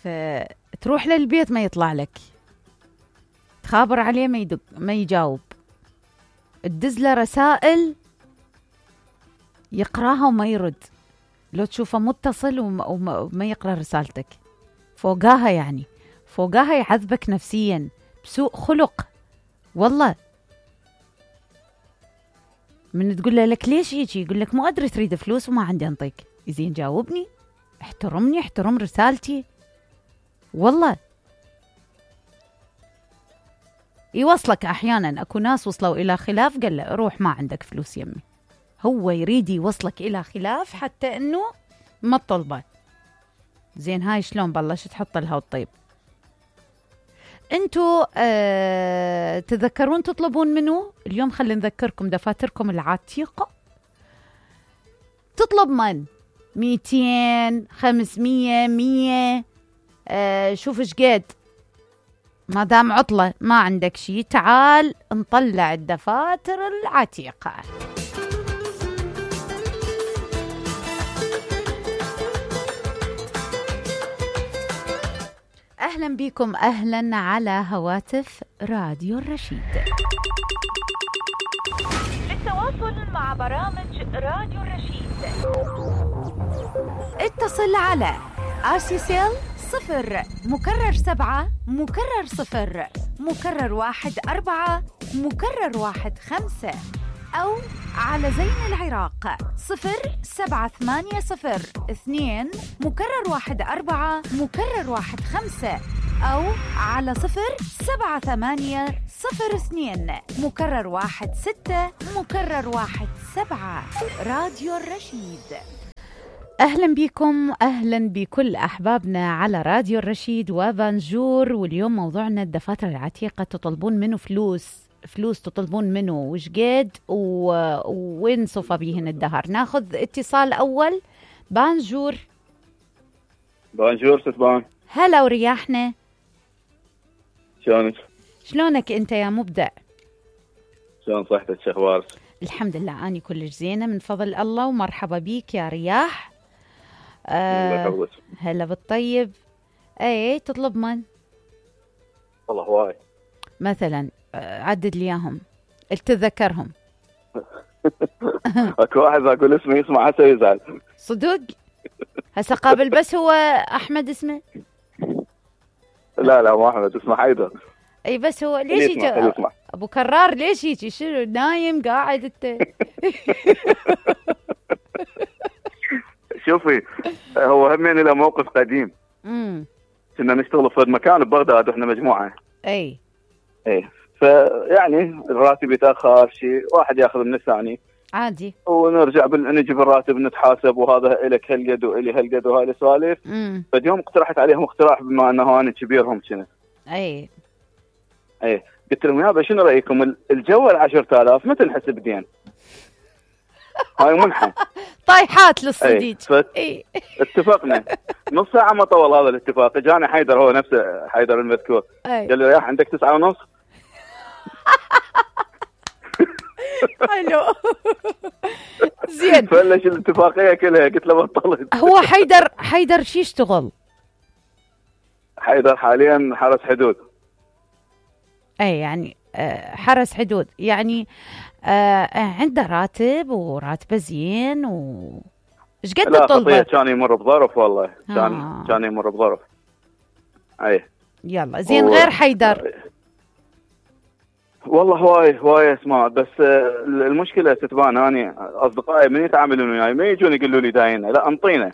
فتروح للبيت ما يطلع لك، تخابر عليه ما يدق ما يجاوب، تدز له رسائل يقراها وما يرد، لو تشوفه متصل وما يقرأ رسالتك، فوقاها يعني فوقاها يعذبك نفسيا بسوء خلق. والله من تقول له لك ليش يجي يقول لك مو أدري تريد فلوس وما عندي أنطيك. يزين جاوبني، احترمني، احترم رسالتي. والله يوصلك أحيانا، أكو ناس وصلوا إلى خلاف قال له روح ما عندك فلوس يمي، هو يريد يوصلك إلى خلاف حتى أنه ما تطلبه. زين هاي شلون بلشت تحط لها الطيب. انتو تذكرون تطلبون منو اليوم؟ خلينا نذكركم دفاتركم العتيقة تطلب من 200 500 100 شوف ايش قد، ما دام عطلة ما عندك شي تعال نطلع الدفاتر العتيقة. أهلا بكم، أهلا على هواتف راديو الرشيد. للتواصل مع برامج راديو الرشيد اتصل على آسيسيل 0 مكرر 7 مكرر 0 مكرر 1 4 مكرر 1 5 أو على زين العراق 0780 2 مكرر 1 4 مكرر 1 5 أو على 0780 02 مكرر 1 6 مكرر 1 7. راديو الرشيد. أهلا بكم، أهلا بكل أحبابنا على راديو الرشيد وبانجور. واليوم موضوعنا الدفاتر العتيقة. تطلبون منه فلوس تطلبون منه وش قد وين صفى بيهن الدهر. ناخذ اتصال أول. بانجور. بانجور ستبان. هلا ورياحنا. شلونك؟ شلونك أنت يا مبدع؟ شلون صحتك؟ شو أخبارك؟ الحمد لله أني كلش زينة من فضل الله، ومرحبا بيك يا رياح. هلا بالطيب. اي تطلب من؟ والله هواي. مثلا عدد لي اياهم تتذكرهم. اكو واحد اقول اسمه يسمع هسه يزعل. صدق؟ هسه قابل بس هو احمد اسمه؟ لا مو احمد، اسمه حيدر. اي بس هو ليش يجي ابو كرار؟ ليش يجي؟ شنو نايم قاعد انت؟ شوفي هو همين له موقف قديم. كنا نشتغل في مكان ببغداد واحنا مجموعه. اي فيعني الراتب يتاخر شيء، واحد ياخذ من الثاني عادي، ونرجع نجي بالراتب نتحاسب، وهذا لك هالقد والي هالقد وهاي السوالف. فاليوم اقترحت عليهم اقتراح بما انه انا كبيرهم كنا. اي قلت لهم يابا شنو رايكم الجو 10,000 متى نحسب دين؟ هاي منحة طايحات للصديق. اتفقنا. نص ساعة ما طول هذا الاتفاق. جاني حيدر، هو نفسه حيدر المذكور. قال لي يا عندك 9:30. حلو. زين فلش الاتفاقية كلها. قلت له بطلت. هو حيدر شي يشتغل؟ حيدر حاليا حرس حدود. اي يعني حرس حدود يعني عنده راتب وراتبه زين ايش قد تطلبه؟ لا كان يمر بظرف والله. كان يمر بظرف. اي يلا زين. غير حيدر والله هواي اسماء، بس المشكله تتبان اني اصدقائي من يتعاملون وياي ما يجون يقولوا لي داينه، لا انطينا،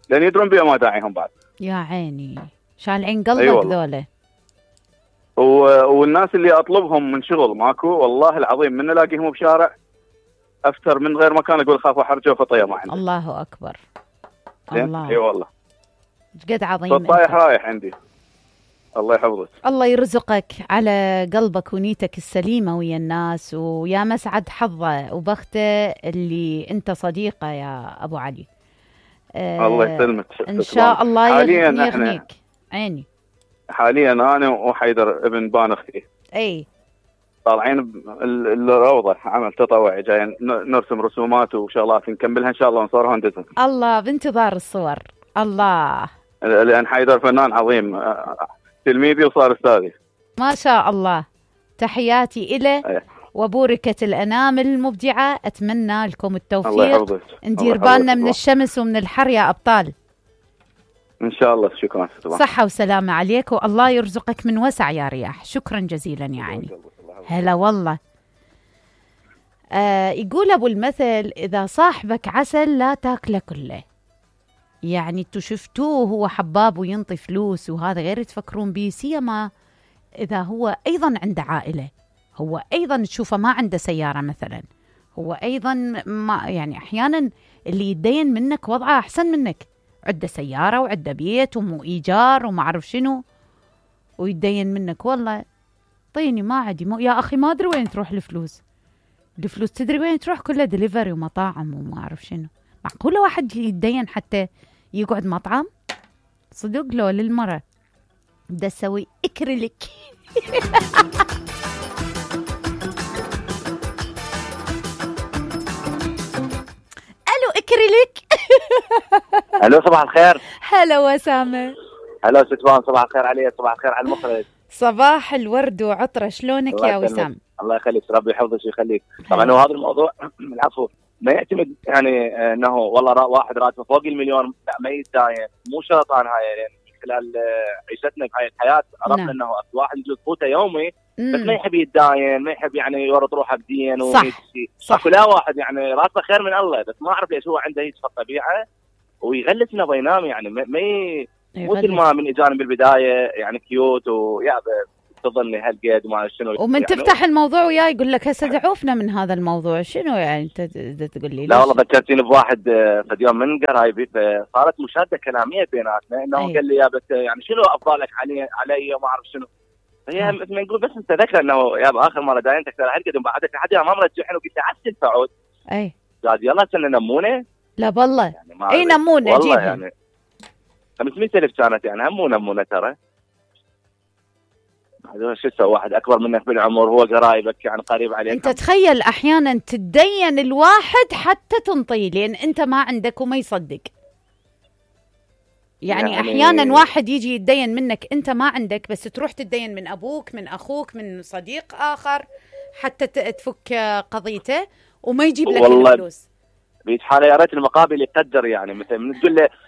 لان يدرون بيا ما داعيهم بعد. يا عيني شالعين قلبك ذولا. والناس اللي اطلبهم من شغل ماكو والله العظيم، من الاقيهم بشارع افتر من غير مكان اقول خاف احرجه وفطيه ما عندي. الله اكبر. الله. اي والله قد عظيم. فالطايح رايح عندي. الله يحفظك. الله يرزقك على قلبك ونيتك السليمة ويا الناس، ويا مسعد حظه وبخته اللي انت صديقه يا ابو علي. الله يسلمك. ان شاء الله يغنيك. عيني. حاليا انا وحيدر ابن بان اختي طالعين الروضه عمل تطوعي، جايين نرسم رسومات وشغلات نكملها ان شاء الله ونصورها وندزها. الله بانتظار الصور. الله لان حيدر فنان عظيم، تلميذي وصار استاذي. ما شاء الله، تحياتي إله وبوركة الأنامل المبدعة. أتمنى لكم التوفيق. الله يحفظك. ندير بالنا من الشمس ومن الحر يا أبطال. إن شاء الله. شكرا. صحة وسلامة عليك، والله يرزقك من وسع يا رياح. شكرا جزيلا يا عيني. هلا والله. يقول أبو المثل: إذا صاحبك عسل لا تاكله كله. يعني انتوا شفتوه هو حباب وينطي فلوس وهذا غير تفكرون به، سيما إذا هو أيضا عنده عائلة، هو أيضا تشوفه ما عنده سيارة مثلا، هو أيضا ما يعني أحيانا اللي يتدين منك وضعه أحسن منك، عنده سيارة وعنده بيت ومو إيجار وما أعرف شنو، ويتدين منك والله طيني ما عندي يا أخي ما أدري وين تروح الفلوس تدري وين تروح؟ كلها دليفري ومطاعم وما أعرف شنو. معقولة واحد يتدين حتى يقعد مطعم؟ صدق لو للمرة بدأ أسوي إكريليك. ألو إكريليك. ألو صباح الخير. هلا وسامة. هلا ستوان، صباح الخير عليك، صباح الخير على المخرج. صباح الورد وعطرة، شلونك يا وسام؟ الله يخليك، ربي يحفظك ويخليك. طبعا هو هذا الموضوع العفو ما يعتمد يعني انه والله واحد راتبه فوق المليون لا ما يتداين، مو شرط انا هاي يعني خلال عيشتنا بهاي الحياه عرفنا انه واحد يجوز قوته يومي بس ما يحب يتداين، ما يحب يعني يورط روحه بدين ويمشي. صح. لا واحد يعني راتبه خير من الله بس ما اعرف ليش هو عنده هيك الطبيعه ويغلس انه بينام يعني مثل ما من اجانا بالبدايه يعني كيوت ويا تظن هالقد وما شنو، ومن يعني تفتح الموضوع وياه يقول لك هسه دعوفنا من هذا الموضوع. شنو يعني انت تقول لي؟ لا والله ذكرتيني بواحد في يوم من قرايبي فصارت مشاده كلاميه بيناتنا انه قال لي يا بس يعني شنو افضالك علي وما اعرف شنو. هي مثل ما نقول بس انت ذكر انه يا باخر مره داينتك ترى هالقد بعدك لحد ما مرجعين وقلت له عسل تعود. اي قال يلا سنه نمونه. لا والله يعني اي نمونه والله جيبها. يعني 500,000 كانت يعني هم نمونه ترى. هذا شو تسوي واحد اكبر منك بالعمر هو قرايبك يعني قريب عليك. انت تخيل احيانا تدين الواحد حتى تنطيه لان انت ما عندك وما يصدق. يعني احيانا واحد يجي يتدين منك انت ما عندك بس تروح تتدين من ابوك من اخوك من صديق اخر حتى تفك قضيته وما يجيب لك الفلوس. بيت حاله يا ريت المقابل يقدر يعني مثلا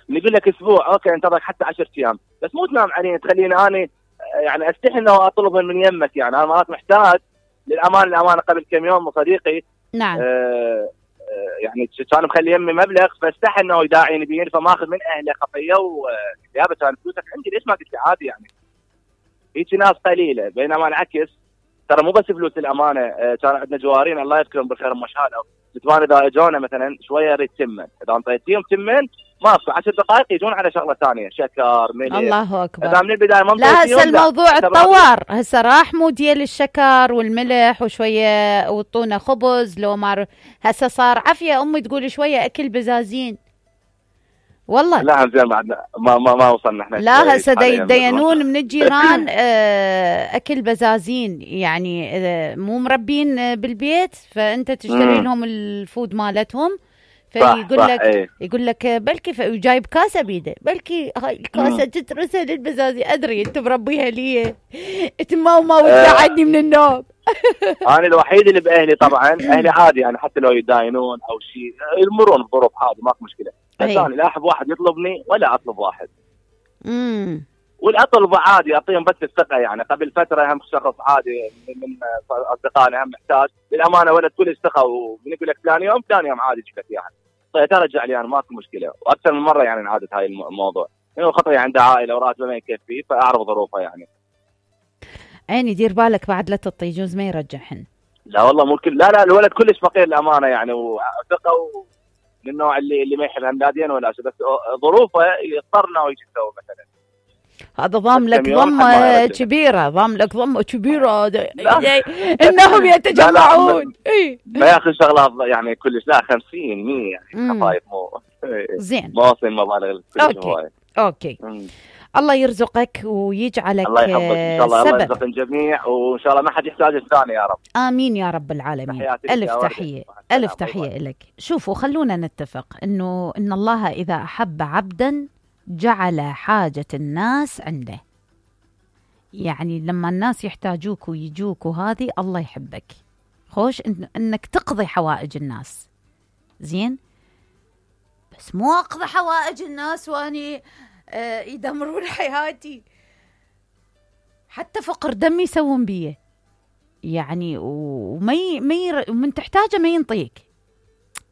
نقول لك اسبوع اوكي انتظرك حتى 10 ايام بس مو تنام علينا تخليني انا يعني استحي انه اطلبهم من يمك. يعني انا مرات محتاج للامانه قبل كم يوم صديقي نعم يعني كان مخلي يمي مبلغ فاستحي انه يداعيني بين فماخذ من اهله خطيه ويابا كان فلوسك عندي ليش ما قلت لي عادي يعني. هيك ناس قليله بينما العكس ترى مو بس فلوس الامانه. كان عندنا جوارين الله يذكرهم بالخير مشهاده ستوان اذا اجونا مثلا شويه يريد تمن اذا انطيتيهم تمن ما في 10 دقائق يجون على شغله ثانيه شكر ملح. الله اكبر. اذا من البدايه ما لا هسه الموضوع اتطور هسه راح مو ديال الشكر والملح وشويه وطونا خبز لو ما هسه صار عافيه. امي تقول شويه اكل بزازين والله. لا زين ما وصلنا احنا. لا هسه يدينون من الجيران اكل بزازين يعني مو مربين بالبيت فانت تشتري لهم الفود مالتهم فيقول لك ايه. يقول لك بلكي جايب كاسه بيده بلكي هاي الكاسه تترسل للبزازي. ادري انت مربيها لي انت ما وتقعدني من النوم. انا الوحيد اللي باهلي طبعا اهلي عادي يعني حتى لو يداينون او شيء يمرون بظروف عادي ماكو مشكله بس انا لا احب واحد يطلبني ولا اطلب واحد. والاطلب عادي اعطيهم بس الثقه. يعني قبل فتره هم شخص عادي من اصدقائنا هم محتاج للامانه ولد كل الثقه وبنقول لك ثاني يوم عادي جبت يعني طيب ترجع لي انا ماكو مشكله. واكثر من مره يعني انعادت هاي الموضوع انه خطري عنده عائله وراتبه ما يكفي فاعرف ظروفه يعني. عيني دير بالك بعد لا تعطي يجوز ما يرجعهن. لا والله مو لا الولد كلش فقير الامانه يعني وثقه من النوع اللي ما يحب همدادين ولا شيء بس ظروفه يضطرنا ويجي يسوي مثلا. هذا ضام لك ضمه كبيره انهم يتجمعون. ما ياخذ شغله يعني كلش لا 50 100 يعني خفايف مو زين ما وصل مبالغ اوكي الله يرزقك ويجعلك الله يحفظك ان شاء الله. الله يرزق الجميع وان شاء الله ما حد يحتاج الثاني يا رب. امين يا رب العالمين. الف تحيه الف تحيه لك. شوفوا خلونا نتفق ان الله اذا احب عبدا جعل حاجة الناس عنده. يعني لما الناس يحتاجوك ويجوك وهذه الله يحبك. خوش انك تقضي حوائج الناس. زين، بس مو اقضي حوائج الناس واني يدمرون حياتي. حتى فقر دم يسوون بيه يعني، ومن تحتاجه ما ينطيك.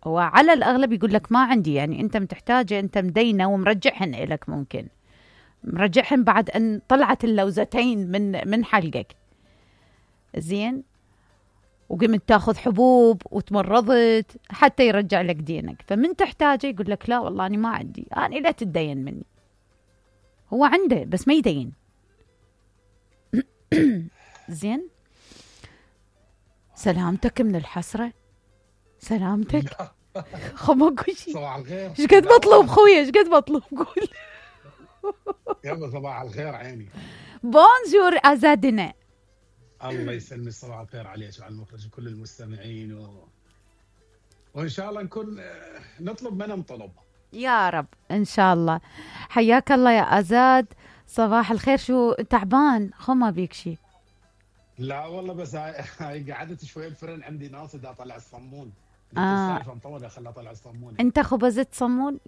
هو على الأغلب يقول لك ما عندي، يعني أنت متحتاجه، أنت مدينة ومرجعهن إلك، ممكن مرجعهن بعد أن طلعت اللوزتين من حلقك. زين، وقمت تاخذ حبوب وتمرضت حتى يرجع لك دينك. فمن تحتاجه يقول لك لا والله أنا ما عندي، أنا لا تتدين مني. هو عنده بس ما يدين. زين، سلامتك من الحسرة، سلامتك. خماكو شيء. صباح الخير. ايش قد بطلب خويا، ايش قد بطلب؟ قول. يلا صباح الخير عيني. بونجور ازادنا. الله يسلمك، صباح الخير عليك وعلى المخرج وكل المستمعين وان شاء الله نكون نطلب منهم طلب يا رب ان شاء الله. حياك الله يا ازاد، صباح الخير. شو تعبان؟ خما بيك شيء؟ لا والله، بس هاي قعدت شوي الفرن عندي ناصد اطلع الصمون. السالفه مطوله، خلها اطلع الصمون. انت خبزت صمون؟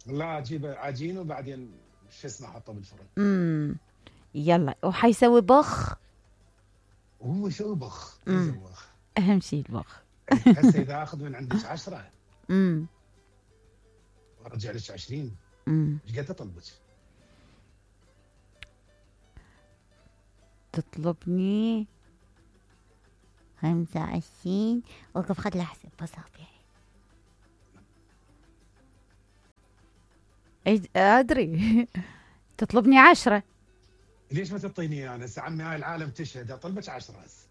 لا، اجيب عجين وبعدين شو اسمه احطه بالفرن. يلا، وحيسوي بخ. هو شو بخ؟ اهم شيء البخ. هسه اذا اخذ من عندك 10 وارجع لك 20، ايش قد اطلبك؟ تطلبني 25. وقف خد لحظة بصابعي. ادري. تطلبني 10. ليش ما تعطيني انا؟ هسه عمي هاي العالم تشهد، اطلبك 10 هسه.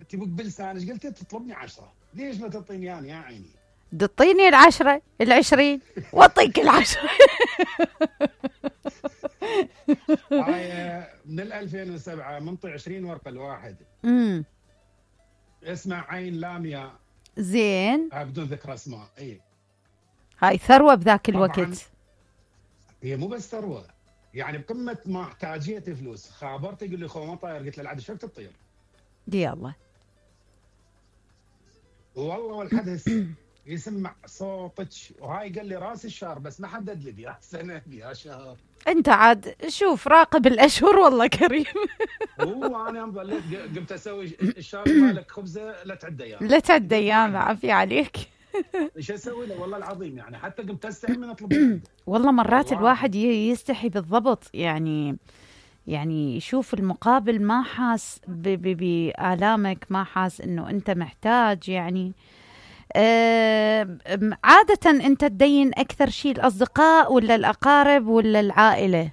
انت بلسانك قلت تطلبني 10، ليش ما تعطيني انا يا عيني؟ تعطيني 10 20 واعطيك 10. هاي من 2007 منطي 20 ورقه الواحد. اسمع عين لاميا. زين، بدون ذكر اسماء. اي هاي ثروه بذاك الوقت. هي مو بس ثروه، يعني بقمه ما احتاجيتي فلوس. خابرت يقول لي خو ما طاير، قلت له العاد شفت تطير. دي الله. والله والحدث يسمع صوتك. وهاي قال لي راس الشهر، بس ما حدد لي يا سنه يا شهر. انت عاد شوف راقب الاشهر والله كريم. هو انا قمت اسوي الشهر مالك خبزه لا تعد ايام، لا تعد ايام. عافيه عليك. ايش اسوي له والله العظيم؟ يعني حتى قمت استحي من اطلب. والله مرات الواحد يستحي بالضبط، يعني يشوف المقابل ما حاس بآلامك، ما حاس انه انت محتاج. يعني عادة انت تدين اكثر شيء الاصدقاء ولا الاقارب ولا العائلة؟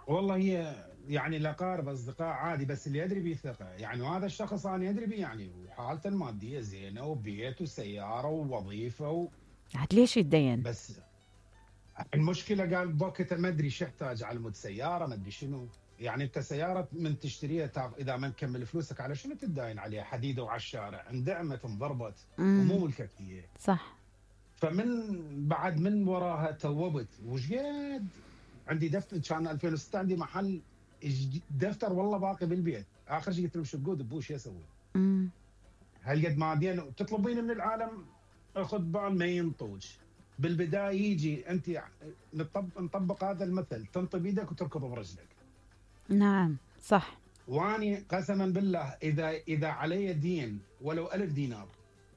والله هي يعني الاقارب اصدقاء عادي، بس اللي يدري بيه ثقة يعني. وهذا الشخص انا يدري بيه يعني، وحالته المادية زينة وبيت وسيارة ووظيفة عاد ليش يتدين؟ بس المشكلة قال بوقتها ما ادري شو احتاج على مود سيارة، ما ادري شنو. يعني انت سيارة من تشتريها اذا ما نكمل فلوسك على شنو تداين عليها؟ حديدة وعلى الشارع اندعمت انضربت ومو ملكك هي. صح. فمن بعد من وراها توبت. وش قد عندي دفتر كان 2006 عندي محل دفتر والله باقي بالبيت. اخر شيء قلت له شو تقول ابوش اسوي؟ هالقد ماديا تطلبين من العالم اخذ بال ما ينطوج. بالبدايه يجي انت نطبق هذا المثل، تنطي بيدك وتركض برجلك. نعم صح. واني قسما بالله اذا علي دين ولو 1000 دينار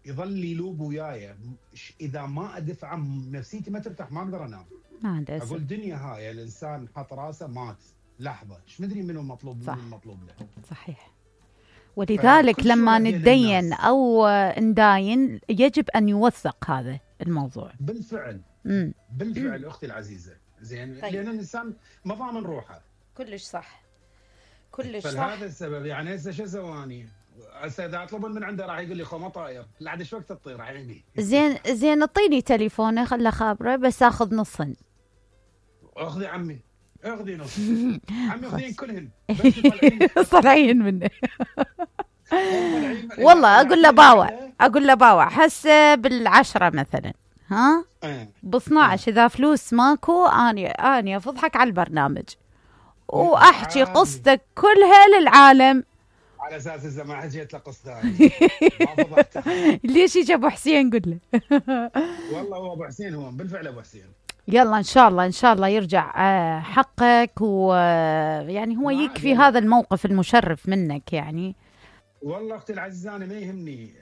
يظل يلوب وياي، اذا ما ادفع نفسيتي ما ترتاح، ما اقدر انام. اقول الدنيا هاي الانسان حط راسه مات لحظه، ايش مدري منو المطلوب منو المطلوب له. صحيح. ولذلك لما ندين او نداين يجب ان يوثق هذا الموضوع. بالفعل. بالفعل اختي العزيزه. زين. طيب. لان الانسان ما ضامن روحه. كلش صح. كلش صح. فلهذا السبب يعني هسه شو سواني؟ هسه اذا اطلبون من عنده راح يقول لي خو ما طاير، لعد ايش وقت تطير عيني. زين اعطيني تليفونه خله خابره بس اخذ نصن. اخذي عمي، اخذي نص. عمي اخذين كلهن. طالعين منه. والله اقول له باوع هسه بال10 مثلا. ها إيه. ب 12 اذا فلوس ماكو اني افضحك على البرنامج واحكي عادي. قصتك كلها للعالم. على اساس اذا ما اجيت لقص ثاني ما فضحت. ليش يجي ابو حسين قل له. والله هو ابو حسين، هو بالفعل ابو حسين. يلا ان شاء الله يرجع حقك، ويعني هو ما يكفي عاد. هذا الموقف المشرف منك يعني. والله اختي العزيزه انا ما يهمني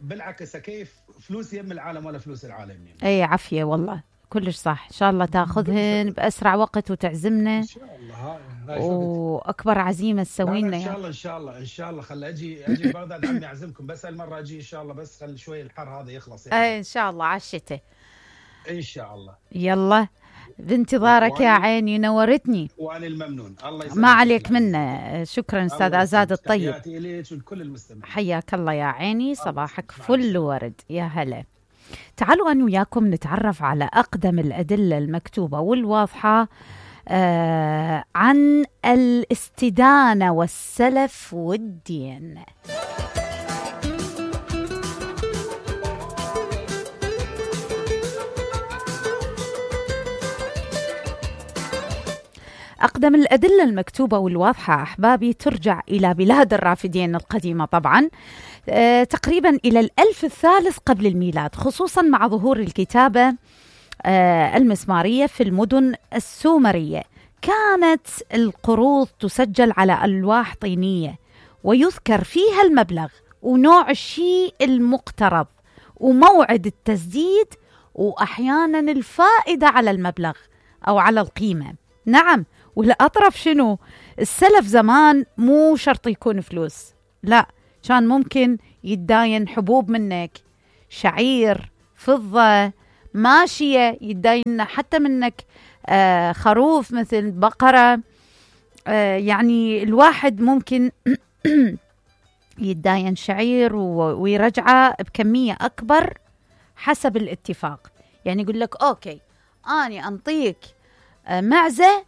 بالعكس، كيف فلوس يم العالم ولا فلوس العالم يعني. اي عافيه والله كلش صح. ان شاء الله تاخذهن باسرع وقت وتعزمنا ان شاء الله. هاي واكبر عزيمه تسوي لنا ان يعني. شاء الله ان شاء الله خل اجي بغداد عمي اعزمكم، بس هالمره اجي ان شاء الله، بس خل شوي الحر هذا يخلص يعني. اي ان شاء الله على الشتاء ان شاء الله. يلا بانتظارك يا عيني، نورتني. وانا الممنون، الله يسلمك. ما عليك منا. شكرا استاذ عزاد الطيب، تحياتي اليك ولكل المستمعين. حياك الله يا عيني، صباحك فل ورد. يا هلا. تعالوا أنا وياكم نتعرف على أقدم الأدلة المكتوبة والواضحة عن الاستدانة والسلف والدين. أقدم الأدلة المكتوبة والواضحة أحبابي ترجع إلى بلاد الرافدين القديمة طبعا، تقريبا إلى الألف الثالث قبل الميلاد، خصوصا مع ظهور الكتابة المسمارية في المدن السومرية. كانت القروض تسجل على ألواح طينية ويذكر فيها المبلغ ونوع الشيء المقترض وموعد التسديد وأحيانا الفائدة على المبلغ أو على القيمة. نعم، والأطرف شنو؟ السلف زمان مو شرط يكون فلوس، لا، كان ممكن يتداين حبوب منك، شعير، فضة، ماشية، يتداين حتى منك خروف مثل بقرة. يعني الواحد ممكن يتداين شعير ويرجعه بكمية أكبر حسب الاتفاق. يعني يقول لك أوكي أنا أنطيك معزة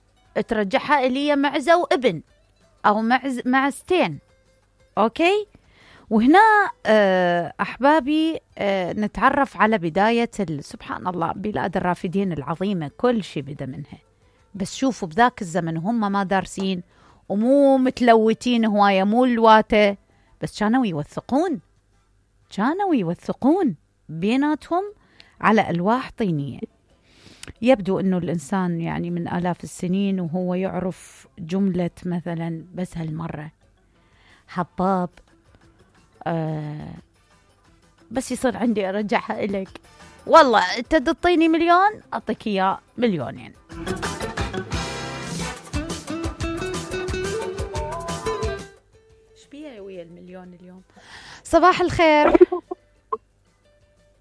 ترجعها إلي معزة وابن أو معزتين. أوكي. وهنا أحبابي نتعرف على بداية سبحان الله بلاد الرافدين العظيمة، كل شيء بدأ منها. بس شوفوا بذاك الزمن هم ما دارسين ومو متلوتين هواية، مو الواتة، بس كانوا يوثقون بيناتهم على ألواح طينية. يبدو أنه الإنسان يعني من آلاف السنين وهو يعرف جملة مثلا بس هالمرة حباب، بس يصير عندي أرجعها إليك، والله أنت تعطيني مليون أعطيك إياه مليونين. إيش بيه ويا المليون اليوم؟ صباح الخير.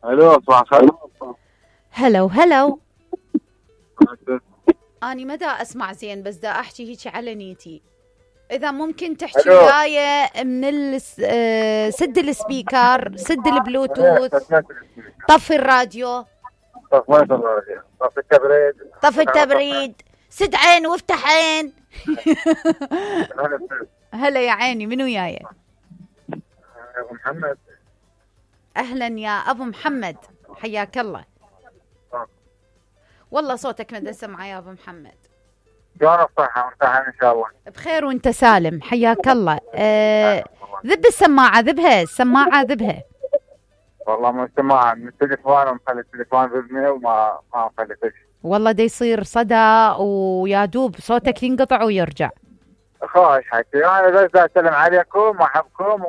الو صباح الخير. هلو أنا ما دا أسمع زين، بس دا أحكي هيك على نيتي. إذا ممكن تحكي وياي من سد السبيكر، سد البلوتوث، طفي الراديو، طفي التبريد، سد عين وافتح عين. هلا يا عيني، منو وياي؟ أبو محمد. أهلا يا أبو محمد، حياك الله. والله صوتك ما سمعه يا أبو محمد. شلون الصحة وانت إن شاء الله؟ بخير وانت سالم، حياك الله. ذب السماعة، ذبها السماعة ذبها. والله مو سماعة، من التليفون ومخلي التليفون بإذني وما مخلي فيش. والله دا يصير صدى ويا دوب صوتك ينقطع ويرجع. خوش حكي، أنا بس أسلم عليكم وأحبكم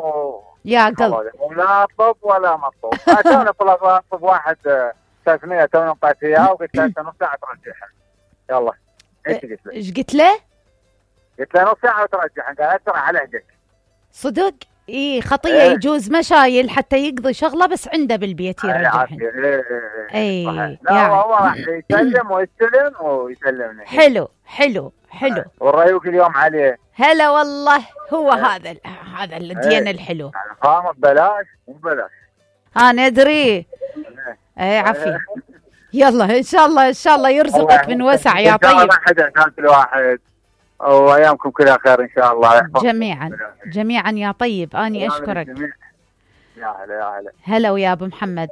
يا قلب. ولا أطلب ولا مطلوب. أنا أطلب واحد 300 تونا نقاط إياه وقلت له نص ساعة ترجعها. يلا. ايش قلت له؟ قلت له نص ساعة وترجعها، قال أسرع على عهدك. صدق؟ إيه خطية. يجوز مشايل حتى يقضي شغلة بس عنده بالبيت يرجعها. اي لا هو راح يسلم ويستلم ويسلمني. حلو. والريوق اليوم عليه. هلا والله، هو هذا الدين الحلو. خامة ببلاش مو ببلاش. أنا أدري. اي عافية. يلا ان شاء الله يرزقك من وسع يا طيب. ان شاء الله ما حد واحد وايامكم كلها خير ان شاء الله. جميعا يا طيب، اني اشكرك. يا هلا يا هلا. هلا ويا ابو محمد.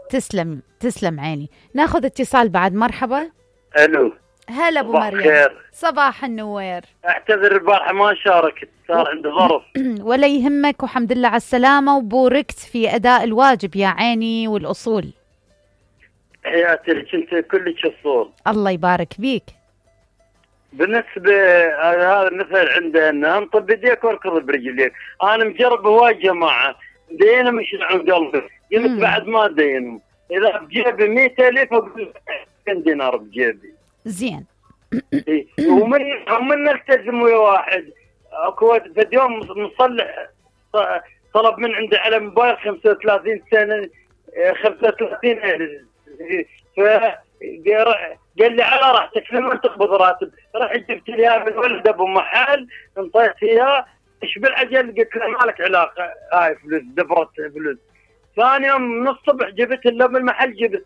تسلم عيني. ناخذ اتصال بعد. مرحبا. الو. هلا ابو مريم. خير. صباح النوير. اعتذر البارحه ما شاركت، صار عندي ظرف. ولا يهمك، وحمد لله على السلامه، وبوركت في اداء الواجب يا عيني والاصول. حياتي لك انت كلك اصول. الله يبارك بيك. بالنسبه هذا المثل عندنا انطب بيديك واركض برجليك. انا مجرب هواي جماعه دينا مش عن قلبي، قلت بعد ما دينهم. اذا بجيبي 100,000 اقول 2 دينار بجيبي. زين. ومن نلتزم ويا واحد اكو في يوم مصلح طلب من عندي على موبايل 35 سنه 35 قال لي على راحتك لما تقبض راتب. رحت جبت لي اياها من ولد ابو محل انطيت اياه. ايش بالعجل؟ قلت له ما لك علاقه، هاي فلوس دفرت فلوس. ثاني يوم من الصبح جبت له بالمحل جبت.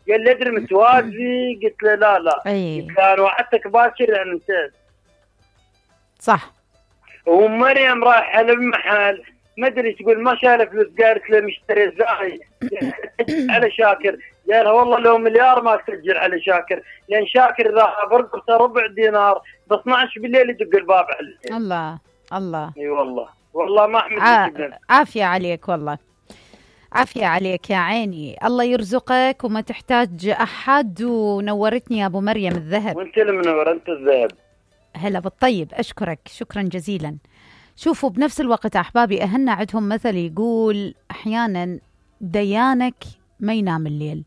قال لي ادري متوازي؟ قلت له لا قلت له انا وعدتك باكر يعني نسيت. صح. ومريم رايحه للمحل ما ادري تقول ما شايله فلوس، قالت له مشتري زاي على شاكر. قالها والله لو مليار ما تسجل على شاكر، لان شاكر اذا برقبته ربع دينار ب 12 بالليل يدق الباب عليه. الله. اي والله ما احمد عافيه عليك، والله عافيه عليك يا عيني. الله يرزقك وما تحتاج احد. ونورتني يا ابو مريم الذهب. وانت المنور، انت الذهب. هلا بالطيب. اشكرك شكرا جزيلا. شوفوا بنفس الوقت احبابي اهلنا عندهم مثل يقول احيانا ديانك ما ينام الليل.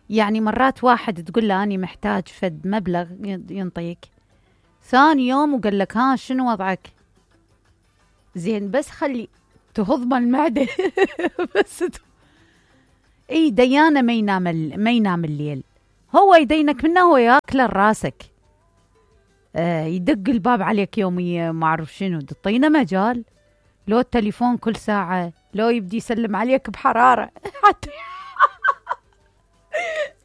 يعني مرات واحد تقول له اني محتاج فد مبلغ ينطيك، ثاني يوم وقال لك ها شنو وضعك؟ زين بس خلي تهضم المعده بس اي ديانه ما ينام الليل. هو يدينك منه هو ياكل راسك. يدق الباب عليك يوميا ما اعرف شنو، تعطينا مجال. لو التليفون كل ساعه، لو يبدي يسلم عليك بحراره حتى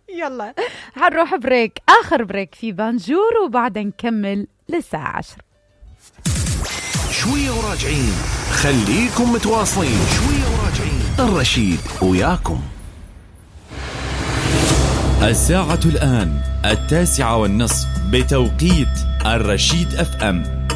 يلا حنروح بريك، اخر بريك في بانجور، وبعدها نكمل للساعه 10. شويه وراجعين، خليكم متواصلين. شويه وراجعين، الرشيد وياكم. الساعة الآن 9:30 بتوقيت الرشيد FM.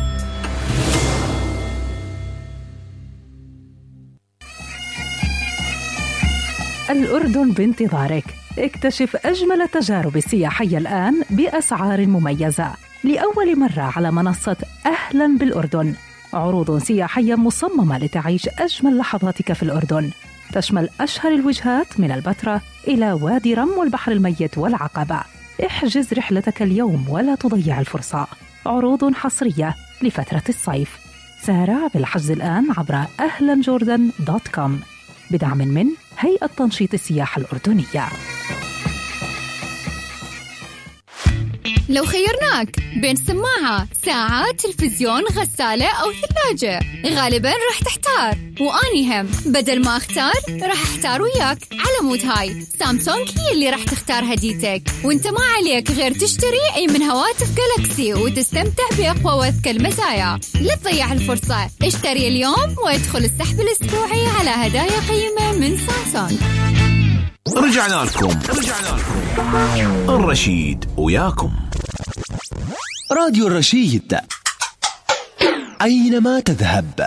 الأردن بانتظارك. اكتشف أجمل التجارب السياحية الآن بأسعار مميزة. لأول مرة على منصة أهلا بالأردن، عروض سياحية مصممة لتعيش أجمل لحظاتك في الأردن، تشمل أشهر الوجهات من البتراء إلى وادي رم والبحر الميت والعقبة. احجز رحلتك اليوم ولا تضيع الفرصة. عروض حصرية لفترة الصيف. سارع بالحجز الآن عبر ahlanjordan.com بدعم من هيئة تنشيط السياحة الأردنية. لو خيرناك بين سماعة، ساعة، تلفزيون، غسالة أو ثلاجة، غالباً راح تحتار. وأني هم بدل ما أختار راح أحتار وياك. على مود هاي سامسونج هي اللي راح تختار هديتك، وانت ما عليك غير تشتري أي من هواتف جالاكسي وتستمتع بأقوى وأذكى المزايا. لا تضيع الفرصة، اشتري اليوم وادخل السحب الأسبوعي على هدايا قيمة من سامسونج. رجعنا لكم الرشيد وياكم. راديو الرشيد أينما تذهب.